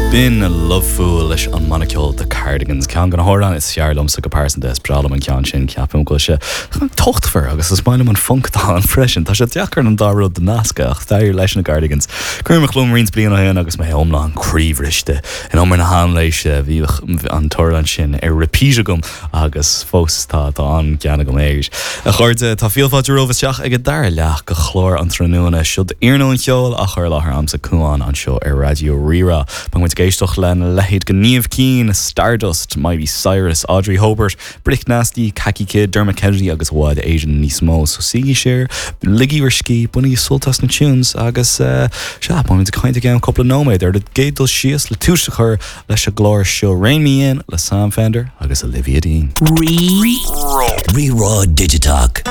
B'in Lovefool leis an mbanna ceoil The Cardigans. Ceann de na hamhráin is fearr liomsa go pearsanta. Is breá liom an ceann sin. Ceapaim go bhfuil sé tochtmhar agus is maith liom an func atá ann freisin. Tá sé deacair an dá rud a nascadh ach d'éirigh leis na Cardigans. Cuimhin liom roinnt bliain ó shin agus mé iomlán croíbhriste in umar na haimléise. Bhíodh an t-amhrán sin ar repeat agam Agus fós tá, tá an-gean agam air. A chairde, tá fíor fáilte romhaibh isteach ag an dara leath de chlár an tráthnóna seo d'iarnóin cheoil á chur i láthair a'msa Cuán anseo ar Raidió Rí-Rá. Beidh muid ag éisteacht lena leithéid de Niamh Keane, Stardust, Miley Cyrus, Audrey Hobert, Brick Nasty, Kaki Kid, Dermot Kennedy agus i bhfad Éireann níos mó. So suígí siar, ligigí bhur scíth, bainigí sult as na tunes agus eh, sea, beidh muid ag caint i gceann cúpla nóiméad ar an gcéad dul síos le tús a chur Leis an gclár seo Rein Me In le Sam Fender agus Olivia Dean. Rí-Rá. Rí-Rá Digiteach.